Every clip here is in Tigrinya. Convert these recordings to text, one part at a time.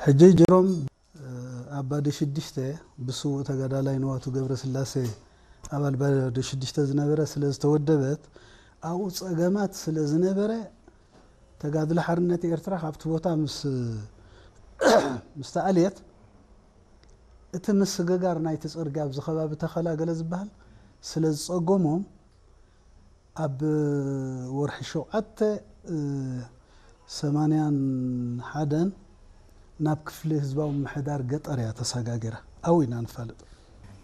ሕጂ ጀሮም ኣባዲ ሽዱሽተ ብስዉእ ተጋዳላይ ንዋቱ ገብረስላሴ ኣባል ባዲ ሽዱሽተ ዝነበረ ስለ ዝተወደበት ኣብኡ ጸገማት ስለ ዝነበረ ተጋድሎ ሓርነት ኤርትራ ካብቲ ቦታ ምስ ምስ ተኣልየት እቲ ምስግጋር ናይቲ ጽርግያ ኣብዚ ከባቢ ተኸላ ገለ ዝበሃል ስለ ዝጸገሞም ኣብ ወርሒ ሸውዓተ ሰማንያን ሓደን ናብ ክፍሊ ህዝባዊ ምሕዳር ገጠር እያ ተሰጋጊራ። ኣብኡ ኢና ንፋለጥ።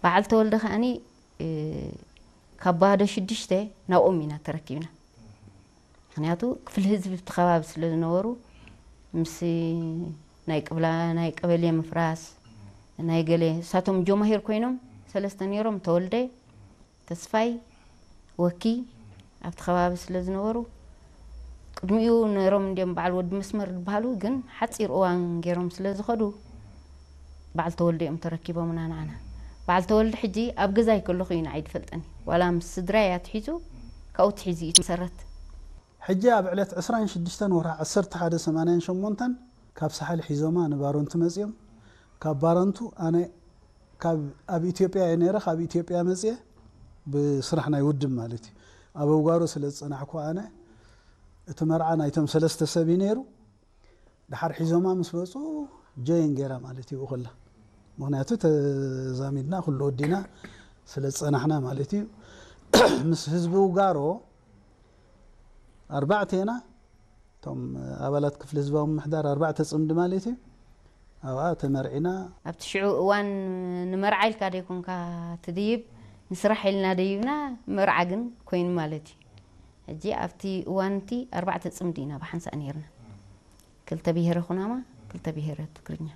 በዓል ተወልደ ከኣኒ ካብ ባህዶ ሽዱሽተ ናብኦም ኢና ተረኪብና። ምክንያቱ ክፍሊ ህዝቢ እቲ ከባቢ ስለ ዝነበሩ ምስ ናይ ቅብላ ናይ ቀበሌ ምፍራስ ናይ ገለ እሳቶም ጆማሂር ኮይኖም ሰለስተ ነይሮም፣ ተወልደ፣ ተስፋይ፣ ወኪ ኣብቲ ከባቢ ስለ ዝነበሩ ቅድሚኡ ነይሮም እንዲኦም በዓል ወዲ መስመር ዝበሃሉ ግን ሓፂር እዋን ገይሮም ስለ ዝኸዱ በዓል ተወልደ እዮም ተረኪቦምና ንዓና። በዓል ተወልደ ሕጂ ኣብ ገዛይ ከለኹ እዩ ንዓይ ዝፈልጠኒ። ዋላ ምስ ስድራይ ኣትሒዙ ካብኡ ትሒዙ እዩ መሰረት። ሕጂ ኣብ ዕለት ዕስራን ሽዱሽተን ወርሒ ዓሰርተ ሓደ ሰማንያን ሸሞንተን ካብ ሳሕል ሒዞማ ንባረንቱ መጺኦም። ካብ ባረንቱ ኣነ ካብ ኣብ ኢትዮጵያ እየ ነይረ። ካብ ኢትዮጵያ መጽየ ብስራሕ ናይ ውድብ ማለት እዩ። ኣብ ኣውጋሮ ስለ ዝጸናሕኩ ኣነ እቲ መርዓ ናይቶም ሰለስተ ሰብ እዩ ነይሩ። ድሓር ሒዞማ ምስ መጹ ጆይን ገይራ ማለት እዩ ብኹላ። ምክንያቱ ተዛሚድና ኩሉ ወዲና ስለ ዝጸናሕና ማለት እዩ። ምስ ህዝቢ ውጋሮ ኣርባዕተ ኢና እቶም ኣባላት ክፍሊ ህዝባዊ ምምሕዳር ኣርባዕተ ጽምዲ ማለት እዩ። ኣብኣ ተመርዒና። ኣብቲ ሽዑ እዋን ንመርዓ ኢልካ ደይኮንካ ትድይብ፣ ንስራሕ ኢልና ደይብና መርዓ ግን ኮይኑ ማለት እዩ። ሕጂ ኣብቲ እዋን እቲ ኣርባዕተ ጽምዲ ኢና ብሓንሳእ ነይርና። ክልተ ብሄረ ኩናማ፣ ክልተ ብሄረ ትግርኛ።